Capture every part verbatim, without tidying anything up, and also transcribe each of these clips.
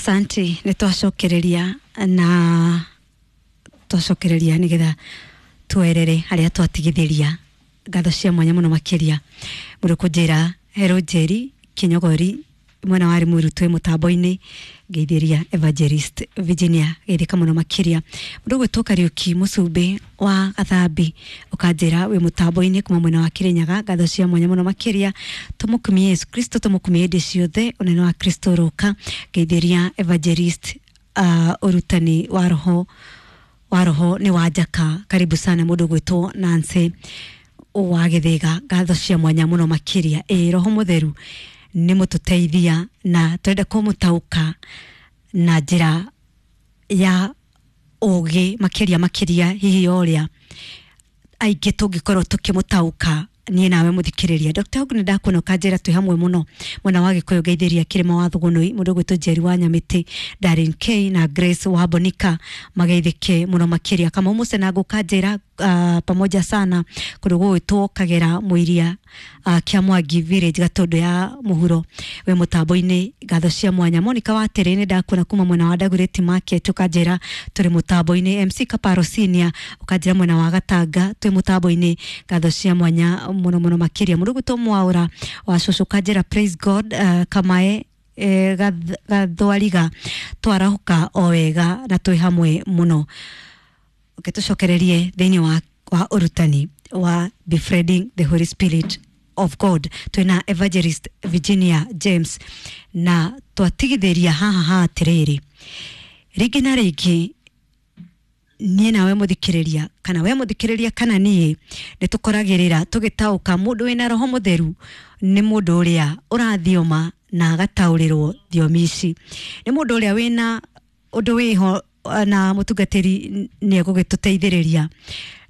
Asante, nä twacokereria na twacokereria nä getha twerere harĩa twatigithĩria. Ngatho cia mwanya mũno makĩria mũndũ kũnjĩra Hero Njeri Kinyogori mwena wa Limuru twĩ mũtambo-inĩ, ngeithĩria Evangelist Virginia geithĩka mũno makĩria. Mũndũ ũgwĩtwo Kariũki Mũcumbĩ wa Gathambi ũkanjĩra wĩ mũtambo-inĩ kuma mwena wa Kĩrĩnyaga, ngatho cia mwanya mũno makĩria. Tũmũkumie Yesu Kristo, tũmũkumie hĩndĩ ciothe, ũnene wa Kristo ũroka. Ngeithĩria Evangelist uh, ũrutani wa roho wa roho nĩ wa njaka, karibu sana. Mũndũ ũgwĩtwo Nancy wa Gĩthĩga, ngatho cia mwanya mũno makĩria. Ĩ roho mũtheru nĩ mũtũteithia na tũrenda kũmũtaũka na njĩra ya ũgĩ makĩria makĩria, hihi ũrĩa aingĩ tũngĩkorwo tũkĩmũtaũka niĩ nawe mũthikĩrĩria. Dr. Hogue, nĩ ndakuona ũkanjĩra twĩ hamwe mũno mwena wa Gĩkũyũ, ngeithĩria Kĩrĩma wa Thũgũnũi, mũndũ ũgwĩtwo Njeri wa Nyamĩtĩ, Darren K na Grace wa Bonika mageithĩke mũno makĩria. Kamau Mũcenango ũkanjĩra uh, pamoja sana kũndũ gũgwĩtwo Kagera Mũiria, uh, Kĩa Mwangi Village, Gatũndũ ya mũhuro, wĩ mũtambo-inĩ, ngatho cia mwanya. Monica wa Terĩ, nĩ ndakuona kuma mwena wa Dagoretti Market, ũkanjĩra tũrĩ mũtambo-inĩ. M C Kaparo Senior ũkanjĩra mwena wa Gatanga twĩ mũtambo-inĩ, ngatho cia mwanya mũno mũno makĩria. Mũndũ ũgwĩtwo Mwaũra wa Cũcũ ũkanjĩra praise God, uh, Kamae eh, Gath- Gathwariga twarahuka o wega na twĩ hamwe mũno. Okay, tũcokererie thĩinĩ wa, wa ũrutani wa befriending the Holy Spirit of God. Twĩna Evangelist Virginia James na twatigithĩria haha ha atĩrĩrĩ, rĩngĩ na rĩngĩ niĩ nawe mũthikĩrĩria, kana we mũthikĩrĩria kana niĩ, nĩ tũkoragĩrĩra tũgĩtaũka mũndũ wĩna roho mũtheru nĩ mũndũ ũrĩa ũrathioma na agataũrĩrwo thiomi ici, nĩ mũndũ ũrĩa wĩna ũndũ wĩho na mũtungatĩri nĩ egũgĩtũteithĩrĩria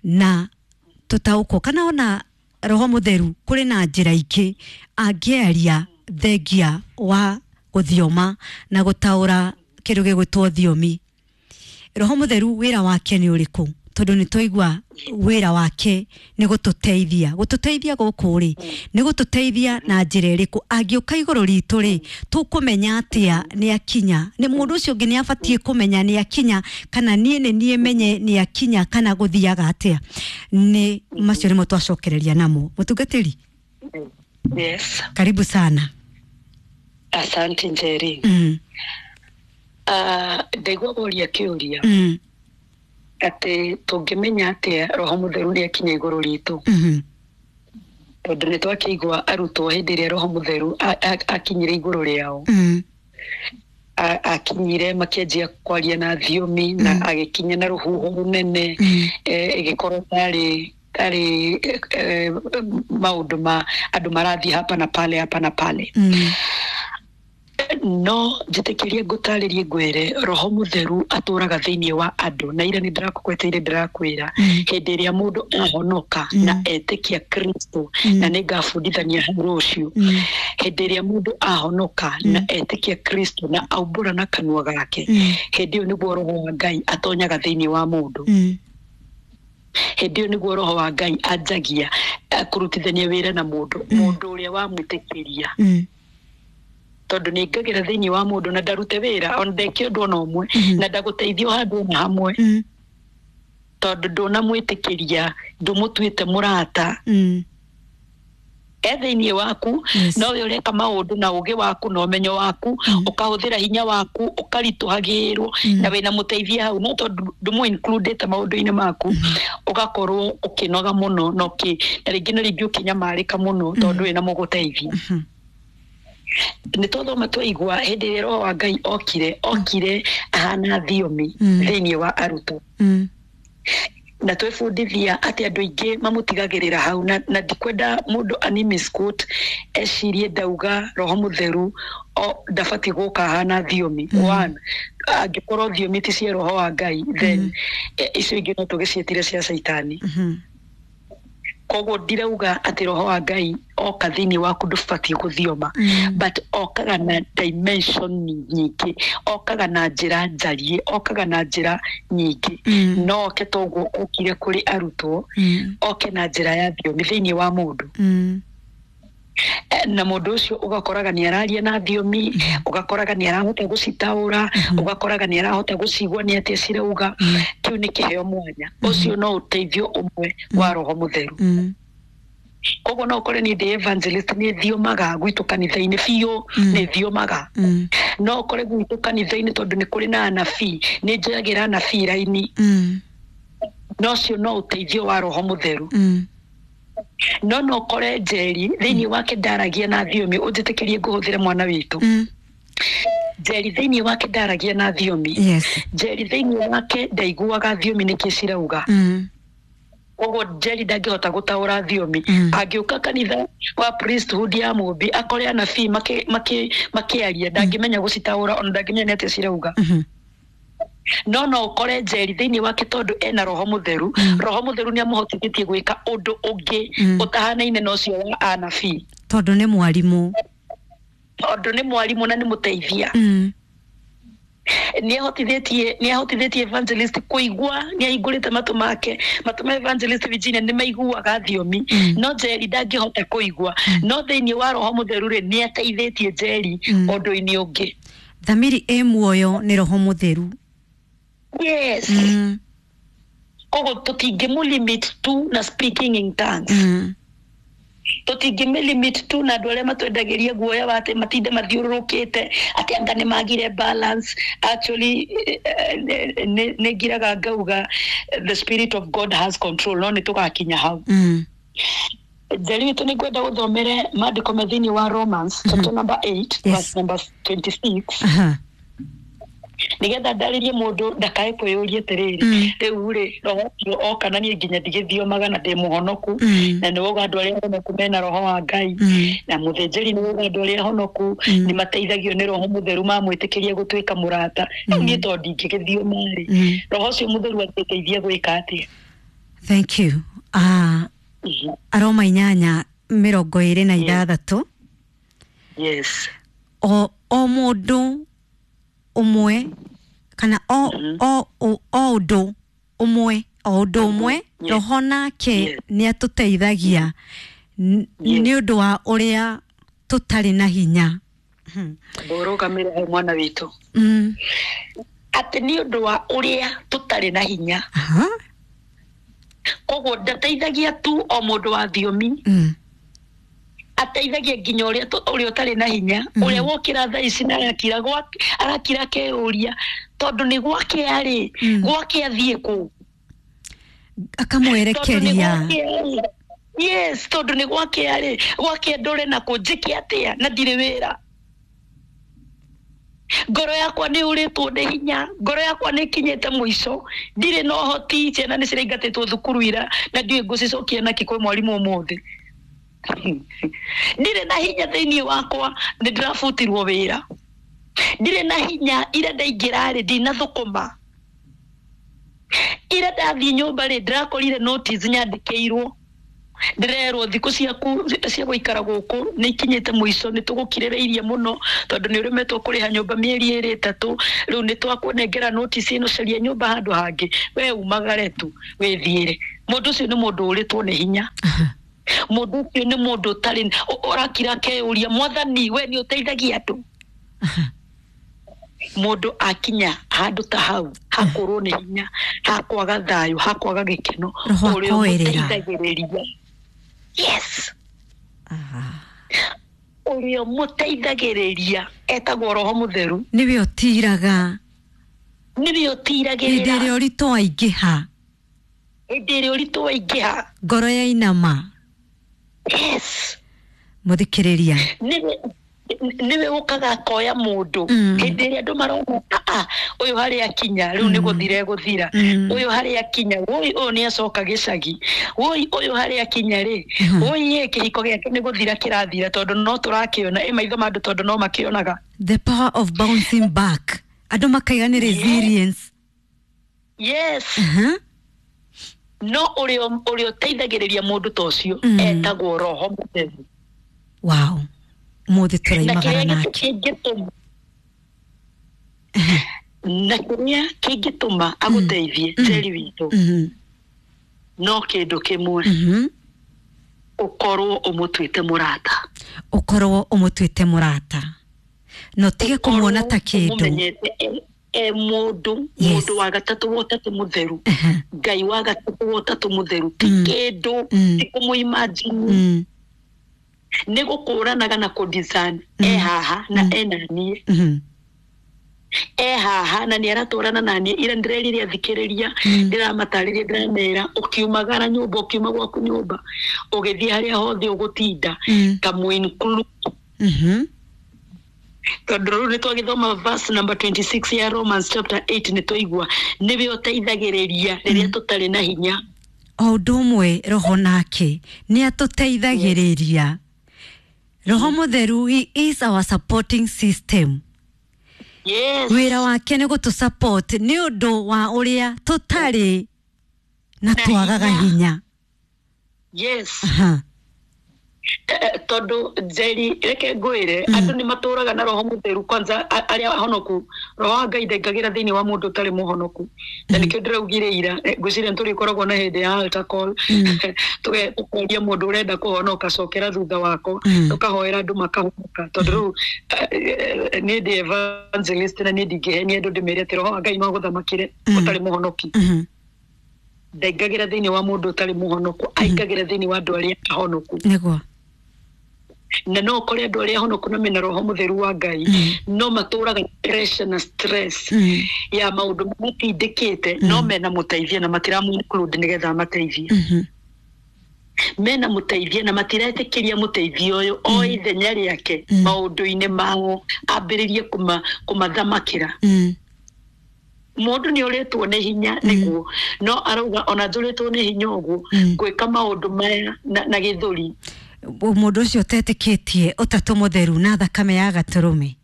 na tũtaũkwo, kana ona roho mũtheru kũrĩ na njĩra ingĩ angĩaria thengia wa gũthioma na gũtaũra kĩndũ gĩgwĩtwo thiomi. Roho mũtheru wĩra wake nĩ ũrĩkũ? Tondũ nĩ twaigua wĩra wake nĩ gũtũteithia. Gũtũteithia gũkũ rĩ, nĩ gũtũteithia na njĩra ĩrĩkũ? Angĩũka igũrũ ritũ rĩ, tũkũmenya atĩa nĩ akinya? Nĩ mũndũ ũcio ũngĩ nĩ abatiĩ kũmenya nĩ akinya, kana niĩ nĩ niĩ menye nĩ akinya, kana gũthiaga atĩa? Nĩ macio nĩmo twacokereria namo. Mũtungatĩri, Yes, karibu sana. Asante Njeri. mm. Uh, ndaigua woria kĩũria Mm. atĩ tũngĩmenya atĩa roho mũtheru nĩ akinya igũrũ ritũ, Mm. tondũ nĩ twakĩigua arutwo hĩndĩ ĩrĩa roho mũtheru a- a- akinyire igũrũ rĩao, Mm. a- akinyire makĩanjia kwaria na thiomi na agĩkinya na rũhuho rũnene, Mm. eh, ĩgĩkorwo tarĩ tarĩ eh, eh, maũndũ ma andũ marathiĩ hapa na pale, hapa na pale. Mm. No njĩtĩkĩrie ngũtarĩrie, ngwĩre roho mũtheru atũraga thĩinĩ wa andũ, na ira nĩ ndĩrakũgweteire, ndĩrakwĩra Mm. hĩndĩ ĩrĩa mũndũ ahonoka Mm. na etĩkia Kristo, Mm. na nĩ ngabundithania hau rũciũ, Mm. hĩndĩ ĩrĩa mũndũ ahonoka na etĩkia Kristo na aumbũra na kanua gake, Mm. hĩndĩ ĩyo nĩguo roho wa Ngai atonyaga thĩinĩ wa mũndũ. Mm. Hĩndĩ ĩyo nĩguo roho wa Ngai anjagia eh, kũrutithania wĩra na mũndũ, mũndũ ũrĩa wamwĩtĩkĩria, Mm. tondũ nĩ ngagĩra thĩinĩ wa mũndũ na ndarute wĩra ona ndeke ũndũ ona ũmwe Mhm. na ndagũteithio handũ ona hamwe, Mm. tondũ ndũnamwĩtĩkĩria, ndũmũtuĩte mũrata. Mm. E thĩinĩ waku, Yes. no we ũreka maũndũ na ũgĩ waku na ũmenyo waku, Mm. ũkahũthĩra hinya waku, ũkaritũhagĩrwo Mm. na wĩna mũteithia hau, no tondũ ndũmũ includĩte maũndũ-inĩ maku, ũgakorwo ũkĩnoga mũno na ũkĩ na rĩngĩ na rĩngĩ ũkĩnyamarĩka mũno tondũ wĩna mũgũteithia. Mhm. Nĩ twathoma twaigua hĩndĩ ĩrĩa roho wa Ngai okire okire ahana thiomi Mm. thĩinĩ wa arutwo, Mm. na twebundithia atĩ andũ aingĩ mamũtigagĩrĩra hau, na, na ndikwenda mũndũ ani misquote ecirie ndauga roho mũtheru o ndabatiĩ gũka ahana thiomi. Mm. One, angĩkorwo thiomi ti cia roho wa Ngai, then Mm. eh, icio ingĩ no tũgĩciĩtire cia caitani. Mhm. Koguo ndirauga atĩ roho wa Ngai oka thĩinĩ waku ndũbatiĩ gũthioma, Mm. but okaga na dimension nyingĩ, okaga na njĩra njariĩ, okaga na njĩra nyingĩ. Mm. No oke toguo okire kũrĩ arutwo, Mm. oke na njĩra ya thiomi thĩinĩ wa mũndũ. Mm. Eh, na mũndũ ũcio ũgakoraga nĩ araria na thiomi, ũgakoraga nĩ arahota gũcitaũra, ũgakoraga nĩ arahota gũcigua nĩ atĩa cirauga. Kĩu nĩ kĩheo mwanya. Ũcio no ũteithio ũmwe wa Roho Mũtheru. Mm. Koguo no ũkore niĩ ndĩ evangelist, nĩ thiomaga gwitũ kanitha-inĩ biũ, nĩ thiomaga. Mm. No ũkore gwitũ kanitha-inĩ tondũ nĩ kũrĩ na anabii, nĩ njoyagĩra anabii raini. Mm. No ũcio no ũteithio wa Roho Mũtheru. Mm. No no ũkore Njeri thĩinĩ wake ndaragia na thiomi, ũnjĩtĩkĩrie ngũhũthĩre mwana witũ. Mm. Njeri thĩinĩ wake ndaragia na thiomi. Yes. Njeri thĩinĩ wake ndaiguaga thiomi nĩkĩ cirauga. Mm. Koguo Njeri ndangĩhota gũtaũra thiomi. Mm. Angĩũka kanitha wa priesthood ya Mũmbi akore anabii makĩ- makĩ- makĩaria, ndangĩmenya gũcitaũra, ona ndangĩmenya nĩ atĩa cirauga. Mhm. No no ũkore Njeri thĩinĩ wake tondũ ena Roho Mũtheru, Mm. Roho Mũtheru nĩ amũhotithĩtie gwĩka ũndũ ũngĩ Mm. ũtahanaine na ũcio wa anabii. Tondũ nĩ mwarimũ. Tondũ nĩ mwarimũ na nĩ mũteithia. Mm. Nĩ ahotithĩtie, nĩ ahotithĩtie evangelist kũigua, nĩ ahingũrĩte matũ make, matũ ma evangelist Virginia nĩ maiguaga thiomi. Mm. No Njeri ndangĩhota kũigua. No thĩinĩ wa Roho Mũtheru rĩ, nĩ ateithĩtie Njeri Mm. ũndũ-inĩ ũngĩ. Thamiri ĩ muoyo nĩ Roho Mũtheru. Yes. Mm. Koguo tũtingĩmũ-limit tu na speaking in tongues. Mm. Tũtingĩmĩ-limit tu na andũ arĩa matwendagĩria guoya wa atĩ matinde mathiũrũrũkĩte atĩ anga nĩ magire balance. Actually, eh, eh, nĩ nĩ ngiraga ngauga the spirit of God has control, no nĩ tũgakinya hau. Mm. Njeri witũ, nĩ ngwenda gũthomere maandĩko me thĩinĩ wa Romans chapter number eight, Yes. verse number twenty-six, Aha. nĩgetha ndarĩrie mũndũ ndakae kwĩyũria atĩrĩrĩ, Mm. rĩu rĩ, roho ũcio oka na niĩ nginya ndigĩthiomaga na ndĩ mũhonoku, Mm. na nĩ wauga andũ arĩa honoku mena roho wa Ngai, Mm. na mũthĩnjĩri nĩ wauga andũ arĩa honoku Mm. nĩ mateithagio nĩ Roho Mũtheru mamwĩtĩkĩria gũtuĩka mũrata. Rĩu niĩ tondũ ndingĩgĩthioma rĩ, Mm. roho ũcio mũtheru angĩteithia gwĩka atĩa? Thank you. Ah, Mhm. Aroma inyanya mĩrongo ĩrĩ na ithathatũ. Yes. O o mũndũ ũmwe kana o o o o ũndũ ũmwe, o ũndũ ũmwe, Yes. roho nake Yes. nĩ atũteithagia n- Yes. nĩ ũndũ wa ũrĩa tũtarĩ na hinya. Ndũrũgamĩre hau mwana witũ, Mm. atĩ nĩ ũndũ wa ũrĩa tũtarĩ na hinya. Aha. Koguo ndateithagia tu o mũndũ wa thiomi, Mm. ateithagia nginya ũrĩa tũ- ũrĩa ũtarĩ na hinya, Mhm. ũrĩa wokĩra thaa ici na arakira gwake, arakira akeyũria tondũ nĩ gwake arĩ, Mm. gwake athiĩ kũ. Tondũ nĩ Akamwerekeria. gwake arĩ. Yes, tondũ nĩ gwake arĩ, gwake ndũre na kũ, njĩke atĩa na ndirĩ wĩra, ngoro yakwa nĩ ũrĩtwo nĩ hinya, ngoro yakwa nĩ ĩkinyĩte mũico, ndirĩ na ũhoti, ciana nĩ ciraingatĩtwo thukuru ira na ndiũĩ ngũcicokia nakĩ kwĩ mwarimũ ũmũthĩ, ndirĩ na hinya thĩinĩ wakwa, nĩ ndĩrabutirwo wĩra, ndirĩ na hinya, ira ndaingĩra rĩ ndinathũkũma, ira ndathiĩ nyũmba rĩ ndĩrakorire notice nyandĩkĩirwo, ndĩrerwo thikũ ciaku cia gũikara gũkũ nĩ ikinyĩte mũico, nĩ tũgũkirĩrĩirie mũno tondũ nĩ ũremetwo kũrĩha nyũmba mĩeri ĩrĩ ĩtatũ, rĩu nĩ twakũnengera notice ĩno, caria nyũmba handũ hangĩ, we umagare tu wĩthiĩre. Mũndũ ũcio nĩ mũndũ ũrĩtwo nĩ hinya. Aha. Mũndũ ũcio nĩ mũndũ ũtarĩ ũ- ũrakira akeyũria, mwathani we nĩ ũteithagia andũ. Aha. Mũndũ akinya handũ ta hau hakũrwo nĩ hinya, hakwaga thayũ, hakwaga gĩkeno, Roho ũrĩa akoerera. ũmũteithagĩrĩria, yes, Aha. ũrĩa ũmũteithagĩrĩria etagwo Roho Mũtheru. Nĩwe ũtiraga Nĩwe hĩndĩ ũtiragĩrĩra ĩrĩa ũritũ waingĩha. Hĩndĩ ĩrĩa ũritũ waingĩha. Ngoro yainama. Yes. Mũthikĩrĩria. nĩwe nĩwe ũkaga akoya mũndũ Mm. hĩndĩ ĩrĩa andũ marona, "Ah, ũyũ harĩa akinya rĩu nĩ gũthira egũthira, Mm. ũyũ harĩa akinya, woi ũyũ nĩ acoka gĩcagi, woi ũyũ harĩa akinya rĩ, Mhm. woi ĩ kĩhiko gĩake nĩ gũthira kĩrathira," tondũ no tũrakĩona ĩ maitho ma andũ tondũ no makĩonaga. The power of bouncing back, andũ makaiga nĩ resilience. Yes. Aha. No ũrĩa ũrĩa ũteithagĩrĩria mũndũ ta ũcio Mm. etagwo Roho Mũtheru. Wow, mũthĩ Na tũraimagara kĩrĩa nake. kĩngĩtũma na kĩrĩa kĩngĩtũma agũteithie, Mm. Njeri witũ, Mhm. no kĩndũ kĩmwe, Mhm. Ũkorwo ũmũtuĩte mũrata. Ũkorwo ũmũtuĩte mũrata na ũtige kũmuona ta kĩndũ. Ũmũmenyete e- e mũndũ, Yes. mũndũ wa gatatũ wa ũtatũ mũtheru, Aha. Ngai wa gatatũ wa ũtatũ mũtheru, ti Mm. kĩndũ, Mm. ti kũmũ-imagine, Mm. nĩ gũkũranaga na kũ-discern e haha na Mm. ena niĩ, Mhm. e haha na nĩ aratwarana na niĩ. Ira ndĩrerire athikĩrĩria, Mm. ndĩramatarĩria, ndĩramera ũkiumagara nyũmba, ũkiuma gwaku nyũmba ũgĩthiĩ harĩa hothe ũgũtinda, Mm. kamũ-include. Mhm. Tondũ rĩu nĩ twagĩthoma verse number twenty-six ya Romans chapter eight, nĩ twaigua nĩwe ũteithagĩrĩria rĩrĩa tũtarĩ na hinya. O ũndũ ũmwe roho nake nĩ atũteithagĩrĩria. Roho Mũtheru, he is our supporting system. Yes. Wĩra wake nĩ gũtũ support nĩ ũndũ wa ũrĩa tũtarĩ na Na twagaga hinya. hinya. Yes. Aha. Eh, tondũ Njeri, reke ngwĩre, andũ nĩ matũraga na Roho Mũtheru kwanza a- arĩa ahonoku. Roho wa Ngai ndaingagĩra thĩinĩ wa mũndũ ũtarĩ mũhonoku, na nĩkĩo ndĩraugire ira, eh, ngwĩciria nĩ tũrĩkoragwo na hĩndĩ ya altar call. Mm. Tuge- tũkoria mũndũ ũrenda kũhonoka, cokera thutha wakwa. Mm. Tũkahoera andũ makahonoka, tondũ rĩu eh, eh, niĩ ndĩ evangelist na niĩ ndingĩhenia andũ ndĩmere atĩ Roho wa Ngai no agũthamakĩre Mm. ũtarĩ mũhonoki. Mhm. Ndaingagĩra thĩinĩ wa mũndũ ũtarĩ mũhonoku, aingagĩra thĩinĩ wa andũ arĩa ahonoku. Nĩguo. Na no ũkore andũ arĩa ahonoku na mena Roho Mũtheru wa Ngai, Mm. no matũraga pressure na stress Mm. ya maũndũ matindĩkĩte, no mena mũteithia na matiramũ-include nĩgetha amateithie. Mhm. Mena mũteithia na matiretĩkĩria mũteithia ũyũ o ithenya rĩake Mm. maũndũ-inĩ mao, ambĩrĩrie kũma- kũmathamakĩra. Mm. Mũndũ nĩ ũrĩtwo nĩ hinya nĩguo, no arauga ona njũrĩtwo nĩ hinya ũguo, Mm. ngwĩka maũndũ maya na, na gĩthũri. Mũndũ ũcio ũtetĩkĩtie ũtatũ mũtheru na thakame ya gatũrũme.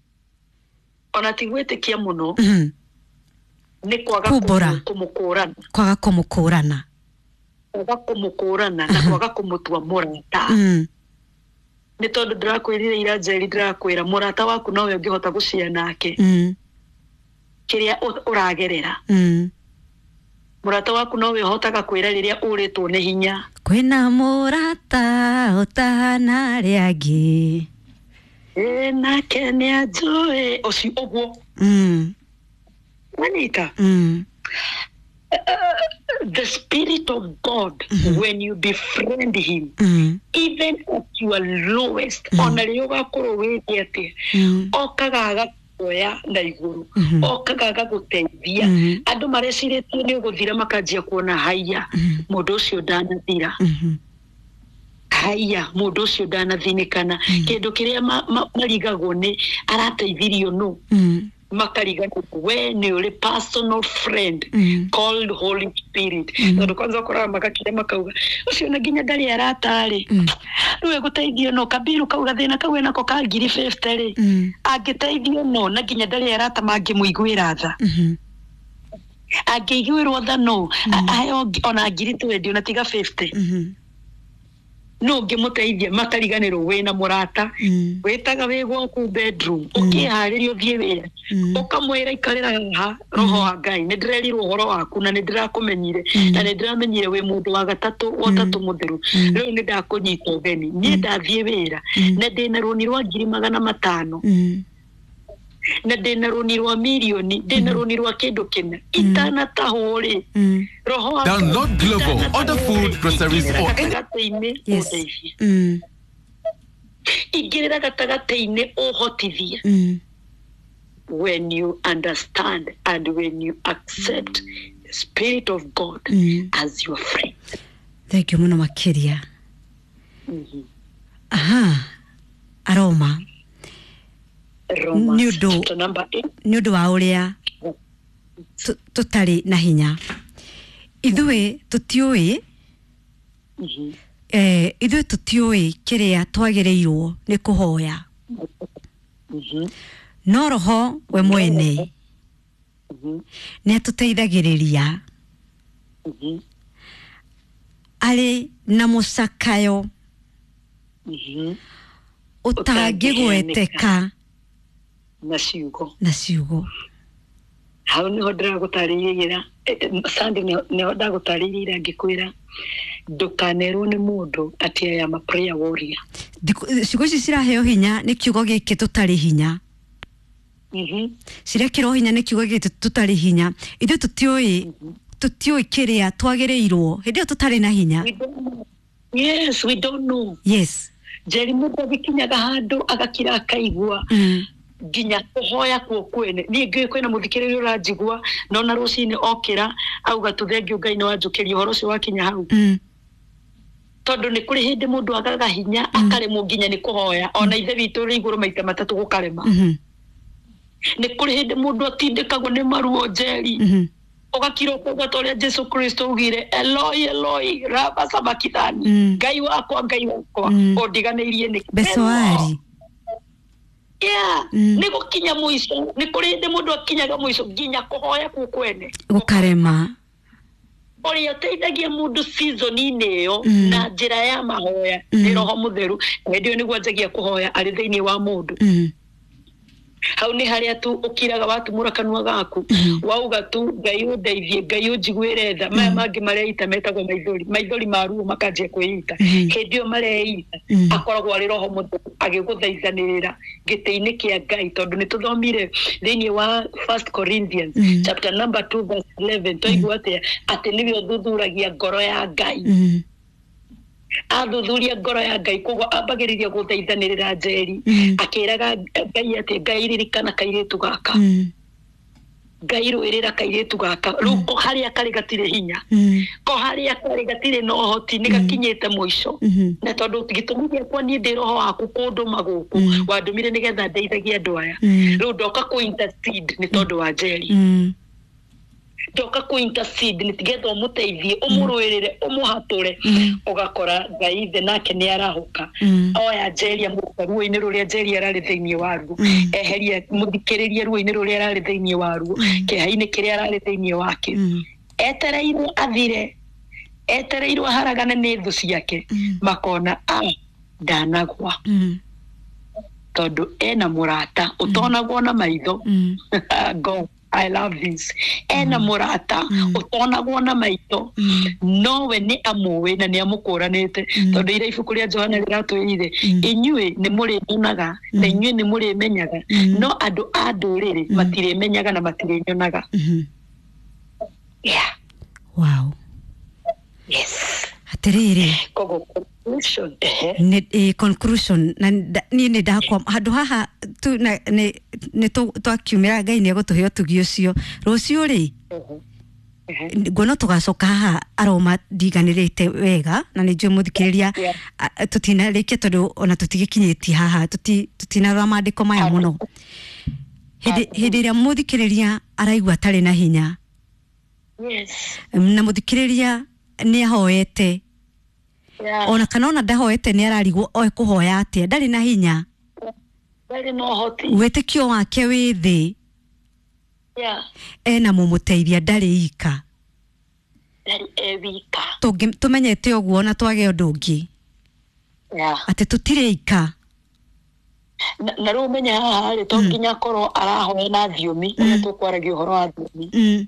Ona ti gwĩtĩkia mũno, Mhm. nĩ kwaga Kumbũra. kũmũ- kũmũkũrana. Kwaga kũmũkũrana. Kwaga kũmũkũrana na kwaga kũmũtua mũrata. Mm. Nĩ tondũ ndĩrakwĩrire ira, Njeri, ndĩrakwĩra mũrata waku nowe ũngĩhota gũcia nake Mm. kĩrĩa ũ- ũragerera. Mm. Mũrata waku nowe ũhotaga kwĩra rĩrĩa ũrĩtwo nĩ hinya. Kwĩna mũrata ũtahana arĩa angĩ. Ĩ nake nĩ anjũĩ ũcio ũguo. Mm. Wanyita? Mm. The Spirit of God, when you befriend him, Mm. even at your lowest, ona rĩrĩa ũgakorwo wĩthĩ atĩa, Mm. okaga agakuoya na igũrũ, Mhm. okaga agagũteithia. Mhm. Andũ marecirĩtie nĩ ũgũthira, makanjia kuona haiya, Mhm. mũndũ ũcio ndanathira. Mhm. Haiya, mũndũ ũcio ndanathinĩkana. Kĩndũ kĩrĩa ma- ma- marigagwo nĩ arateithirio nũ. Mm. Makarigagwo we nĩ ũrĩ personal friend Mm. called Holy Spirit. Mm. Tondũ kwanza ũkoraga magakira makauga ũcio na nginya ndarĩ aratarĩ, Mm. rĩu egũteithio no kabiru kau gathĩna kau enako ka ngiri fifty rĩ, Mm. angĩteithio no na nginya ndarĩ arata mangĩmũiguĩra tha. Mhm. Angĩiguĩrwo tha no a- aheo ngi- ona ngiri twenty, ona tiga fifty, Mhm. no ũngĩmũteithia. Makariganĩrwo wĩna mũrata Mm. wĩtaga wĩ gwaku bedroom ũkĩharĩria ũthiĩ wĩra, Mm. ũkamwĩra ikarĩra haha, Roho wa Ngai, nĩ ndĩrerirwo ũhoro waku na nĩ ndĩrakũmenyire, Mm. na nĩ ndĩramenyire wĩ mũndũ wa gatatũ wa ũtatũ mũtheru. Mm. Rĩu nĩ ndakũnyita ũgeni, niĩ ndathiĩ wĩra Mm. na ndĩna rũni rwa ngiri magana matano, Mm. na ndĩna rũni rwa mirioni, ndĩna rũni rwa kĩndũ kĩna itanatahwo rĩ, Mm. Roho wa Download Ngai, Glovo, order food, itanatahwo rĩ, groceries, ingĩrĩra or any- gatagatĩ-inĩ Yes. ũndeithie. Mm. Ingĩrĩra gatagatĩ-inĩ ũhotithie. Mm. When you understand and when you accept the Spirit of God Mm. as your friend. Thank you mũno makĩria. Aha, Aroma. Romans Nĩ ũndũ- chapter number eight. Nĩ ũndũ wa ũrĩa tũ- tũtarĩ na hinya ithuĩ tũtiũĩ, Mhm. eh, ithuĩ tũtiũĩ kĩrĩa twagĩrĩirwo nĩ kũhoya, Mhm. no Roho we mwene Mhm. nĩ atũteithagĩrĩria Mhm. arĩ na mũcakayo Mhm. ũtangĩgweteka na ciugo. Na ciugo. Hau niho ndĩragũtarĩria ira, Sandi, niho ndagũtarĩria ira ngĩkwĩra Ndũkanerwo nĩ mũndũ atĩ I am a prayer warrior. Ciugo ici ciraheo hinya nĩ kiugo gĩkĩ tũtarĩ hinya. Mhm. Cirekĩrwo hinya nĩ kiugo gĩkĩ tũtarĩ hinya. Ithuĩ tũtiũĩ tũtiũĩ kĩrĩa twagĩrĩirwo hĩndĩ ĩyo tũtarĩ na hinya. We don't know. Yes, we don't know. Yes. Njeri mũndũ agĩkinyaga handũ agakira akaigua Mm. nginya kũhoya kuo kwene. Niĩ ngĩũĩ kwĩna mũthikĩrĩria ũranjigua no na rũcinĩ okĩra auga tu thengiũ Ngai nĩ wanjũkĩria ũhoro ũcio wakinya hau. Mm. Tondũ nĩ kũrĩ hĩndĩ mũndũ agaga hinya akaremwo nginya nĩ kũhoya ona ithe witũ ũrĩ igũrũ maita matatũ gũkarema. Mhm. Nĩ kũrĩ hĩndĩ mũndũ atindĩkagwo nĩ maruo Njeri. Mhm. Ũgakira ũkauga ta ũrĩa Jesu Kristo augire Eloi Eloi lama sabakithani. Mm. Ngai wakwa Ngai wakwa Mm. ũndiganĩirie nĩkĩ? Becoari. Yeah. Mm. Nĩ gũkinya mũico, nĩ kũrĩ hĩndĩ mũndũ akinyaga mũico nginya kũhoya kũu kwene Gũkarema. Ũrĩa ũteithagia mũndũ season-inĩ ĩyo Mm. na njĩra ya mahoya Mm. nĩ Roho Mũtheru. Hĩndĩ ĩyo nĩguo anjagia kũhoya arĩ thĩinĩ wa mũndũ. Mm. Hau nĩ harĩa tu ũkiraga watumũra kanua gaku Mm. wauga tu Ngai ũndeithie, Ngai ũnjiguĩre tha. Maya mangĩ mareita metagwo maithori, maithori ma ruo makanjia kwĩita. Mm. Hĩndĩ ĩyo mareita Mm. akoragwo arĩ Roho Mũtheru agĩgũthaithanĩrĩra gĩtĩ-inĩ kĩa Ngai, tondũ nĩ tũthomire thĩinĩ wa First Corinthians Mm. chapter number two verse eleven twaigua atĩa atĩ nĩwe ũthuthuragia ngoro ya Ngai. Mm. Athuthuria ngoro ya Ngai koguo ambagĩrĩria gũthaithanĩrĩra Njeri Mm. akĩraga Ngai atĩ Ngai ririkana kairĩtu gaka. Mm. Ngai rũĩrĩra kairĩtu gaka. Rĩu ko harĩa karĩ gatirĩ hinya, Mm. ko harĩa karĩ gatirĩ na ũhoti, nĩ gakinyĩte mũico. Mhm. Na tondũ gĩtũmi gĩakwa niĩ ndĩ roho waku kũndũma gũkũ Mm. wandũmire nĩgetha ndeithagie andũ aya. Mm. Rĩu ndoka kũ intercede nĩ tondũ wa Njeri. Mm. Ndoka kũ intercede nĩ getha ũmũteithie, ũmũrũĩrĩre, ũmũhatũre. Mm. Ũgakora Ngai ithe nake nĩ arahũka. Mm. Oya Njeri amũruta ruo-inĩ rũrĩa Njeri ararĩ thĩinĩ waruo. Mm. Eheria mũthikĩrĩrie ruo-inĩ rũrĩa ararĩ thĩinĩ waruo, kĩeha-inĩ kĩrĩa ararĩ thĩinĩ wake. Mm. Etereirwo athire, etereirwo aharagane nĩ thũ ciake. Mm. Makona a ndanagwa. Mm. Tondũ ena mũrata ũtonagwo na maitho. Mm. God, I love this. Ena mũrata Mm. ũtonagwo na maitho. Mm. Nowe nĩ amũĩ na nĩ amũkũranĩte. Mm. Tondũ ira ibuku rĩa Johana rĩratwĩrire Mm. inyuĩ nĩ mũrĩnyonaga na inyuĩ nĩ mũrĩmenyaga, Mm. no andũ a ndũrĩrĩ Mm. matirĩmenyaga na matirĩnyonaga. Mhm. Yeah. Wow. Yes. Atĩrĩrĩ. Koguo conclusion, ehe. Nĩ eh, conclusion na nda- niĩ nĩ ndakwa handũ haha tu na nĩ nĩ tũ- twakiumĩra Ngai nĩ egũtũhe ũtugi ũcio rũciũ rĩ. Ehe. Ehe. Nguona tũgacoka haha aroma ndiganĩrĩte wega na nĩ njũĩ mũthikĩrĩria Yeah. a- tũtinarĩkia tondũ ona tũtigĩkinyĩtie haha tũti- tũtinarora maandĩko maya mũno. Hĩndĩ hĩndĩ ĩrĩa mũthikĩrĩria araigua atarĩ na hinya Yes. na mũthikĩrĩria nĩ ahoete Yeah. ona kana ona ndahoete nĩ ararigwo oe kũhoya atĩa, ndarĩ na hinya, Ndarĩ na ũhoti. wĩtĩkio wake wĩ thĩ, Yeah. ena mũmũteithia ndarĩ ika. Ndarĩ e wika. Tũngĩ- tũmenyete ũguo ona twage ũndũ ũngĩ Yeah. atĩ tũtirĩ ika. Na na rĩu ũmenye haha rĩ, to nginya akorwo arahoya na thiomi ũrĩa tũkwaragia ũhoro wa thiomi. Mm.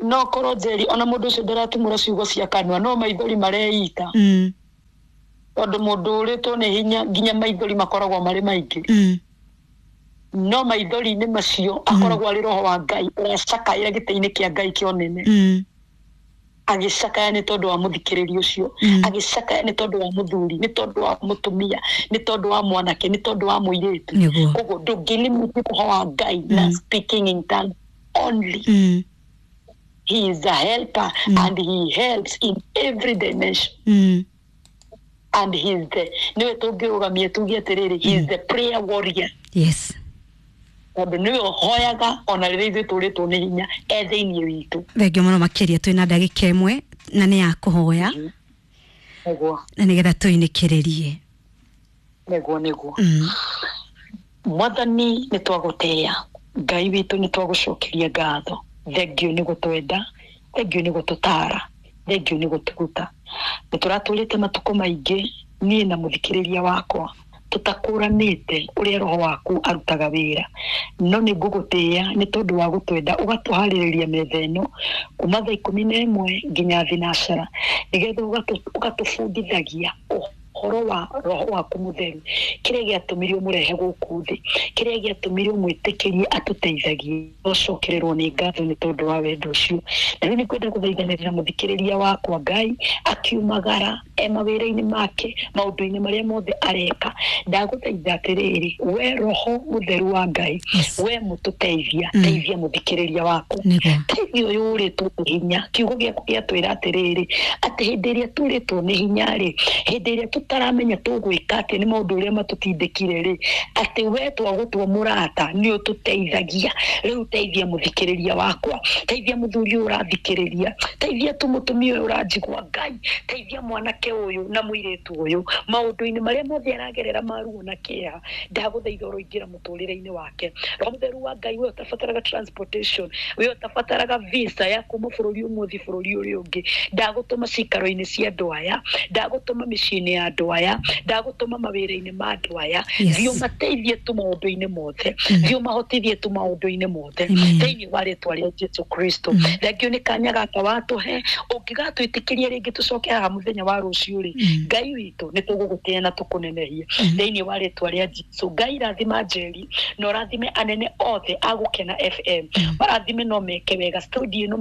No korwo Njeri ona mũndũ ũcio ndaratumũra ciugo cia kanua no maithori mareita. Mm. Tondũ mũndũ ũrĩtwo nĩ hinya nginya maithori makoragwo marĩ maingĩ. Mm. No maithori-inĩ macio akoragwo arĩ roho wa Ngai ũracakaĩra gĩtĩ-inĩ kĩa Ngai kĩa ũnene. Mm. Agĩcakaya nĩ tondũ wa mũthikĩrĩria ũcio, Mm. agĩcakaya nĩ tondũ wa mũthuri, nĩ tondũ wa mũtumia, nĩ tondũ wa mwanake, nĩ tondũ wa mũirĩtu. Nĩguo. Koguo ndũngĩlimit roho wa Ngai na Mm. speaking in tongues only. Mm. He is a helper Mm. and he helps in every dimension. Mm. And he is the, nĩwe tũngĩrũgamia tuge atĩrĩrĩ, he is the prayer warrior. Yes. Tondũ nĩwe ũhoyaga ona rĩrĩa ithuĩ tũrĩtwo nĩ hinya e thĩinĩ witũ. Thengio mũno makĩria twĩna ndagĩka ĩmwe na nĩ ya kũhoya Nĩguo, na nĩgetha tũinĩkĩrĩrie. nĩguo, nĩguo. Mm. Mwathani nĩ twagũtĩĩa, Ngai witũ nĩ twagũcokeria ngatho. Thengio nĩ gũtwenda, thengio nĩ gũtũtara, thengio nĩ gũtũruta. Nĩ tũratũrĩte matukũ maingĩ niĩ na mũthikĩrĩria wakwa Tũtakũranĩte ũrĩa roho waku arutaga wĩra, no nĩ ngũgũtĩĩa nĩ tondũ wa gũtwenda ũgatũharĩrĩria metha ĩno kuma thaa ikũmi na ĩmwe nginya thinacara, nĩgetha ũgatũ- ũgatũbundithagia ũhoro wa roho waku mũtheru, kĩrĩa gĩatũmire ũmũrehe gũkũ thĩ, kĩrĩa gĩatũmire ũmwĩtĩkĩrie atũteithagie. Ũcokererwo nĩ ngatho nĩ tondũ wa wendo ũcio. Na rĩu nĩ kwenda gũthaithanĩrĩra mũthikĩrĩria wakwa, Ngai, akiumagara e mawĩra-inĩ make, maũndũ-inĩ marĩa mothe areka, ndagũthaitha atĩrĩrĩ, we roho mũtheru wa Ngai, Yes. we mũtũteithia, Mm. teithia mũthikĩrĩria waku, Nĩguo. teithia ũyũ ũrĩtwo nĩ hinya. Kiugo gĩaku gĩatwĩra atĩrĩrĩ, atĩ hĩndĩ ĩrĩa turĩtwo nĩ hinya rĩ, hĩndĩ ĩrĩa tũtaramenya tũgwĩka atĩ nĩ maũndũ ũrĩa matũtindĩkire rĩ, atĩ we twagũtua mũrata nĩ ũtũteithagia. Rĩu teithia mũthikĩrĩria wakwa, teithia mũthuri ũyũ ũrathikĩrĩria, teithia tu mũtumia ũyũ ũranjigua, Ngai, teithia mwanake ũyũ na mũirĩtu ũyũ maũndũ-inĩ marĩa mothe aragerera maruo na kĩeha. Ndagũthaitha ũroingĩra mũtũrĩre-inĩ wake. Roho mũtheru wa Ngai, we ũtabataraga transportation, we ũtabataraga visa ya kuma bũrũri ũmwe ũthiĩ bũrũri ũrĩa ũngĩ, ndagũtũma cikaro-inĩ cia andũ aya, ndagũtũma mĩciĩ-inĩ ya andũ aya, ndagũtũma mawĩra-inĩ ma andũ aya. Yes. Thiĩ ũmateithie tu maũndũ-inĩ mothe, Mm. thiĩ ũmahotithie tu maũndũ-inĩ mothe, Amen. thĩinĩ wa rĩtwa rĩa Jesu Kristo. Mm. Thengio nĩ kanya gaka watũhe. Ũngĩgatwĩtĩkĩria rĩngĩ tũcoke haha mũthenya wa rũciũ rĩ, Mm. Ngai witũ, nĩ tũgũgũtĩĩa na tũkũnenehie Mm. thĩinĩ wa rĩtwa rĩa Jesu. Ngai, rathima Njeri na ũrathime anene othe a Gũkena F M. Mm. Marathime no meke wega studio ĩno.